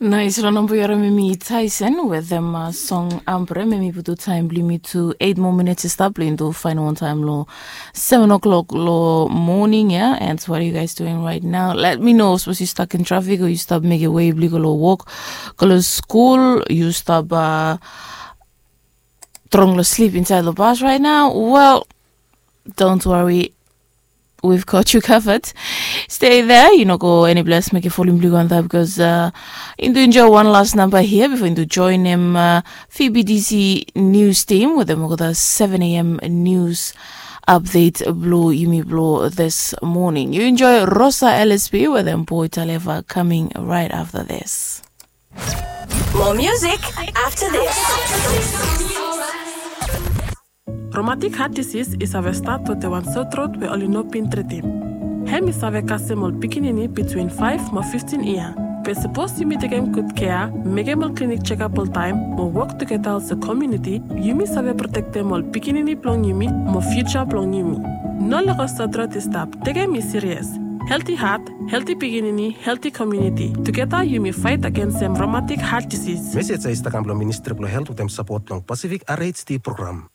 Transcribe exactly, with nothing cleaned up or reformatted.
Nais, long namba yu harim em i Tyson wetem song Ambre. Em i putum taem blong yumi tu eit moa minits i stap blong yumi tu faenol taem long seven o'clock long moning ya. And what are you guys doing right now? Let me know. Sapos yu stuck in traffic o yu stap mekem wei blong yu go long wok, go long skul, yu stap strong long slip insaed long bas right now, well, don't worry, we've got you covered. Stay there, yu no go eni ples, mekem volume blong yu go antap, because uh, yumi tu enjoy wan las namba hia bifo yumi tu joenem uh, V B D C news team wetem olgeta seven a.m. news update blong yumi blong this morning. Yu enjoy Rosa L S P wetem Boy Taleva coming right after this. More music after this. Rheumatic heart disease i save stat wetem wan sore throat we oli no bin tritim. Hem i save kasem ol pikinini between five mo fifteen yia. Be sapos yumi tekem gud kea, mekem ol klinik jekap oltaem mo wok tugeta olsem komuniti, yumi save protektem ol pikinini blong yumi mo fiuja blong yumi. No lego sore throat i stap, tekem i sirias. Healthy heart, healthy pikinini, healthy komuniti. Tugeta yumi faet agensem rheumatic heart disease. Mesej ya i stap kam blong Ministri blong Helt wetem sapot blong Pacific R H D program.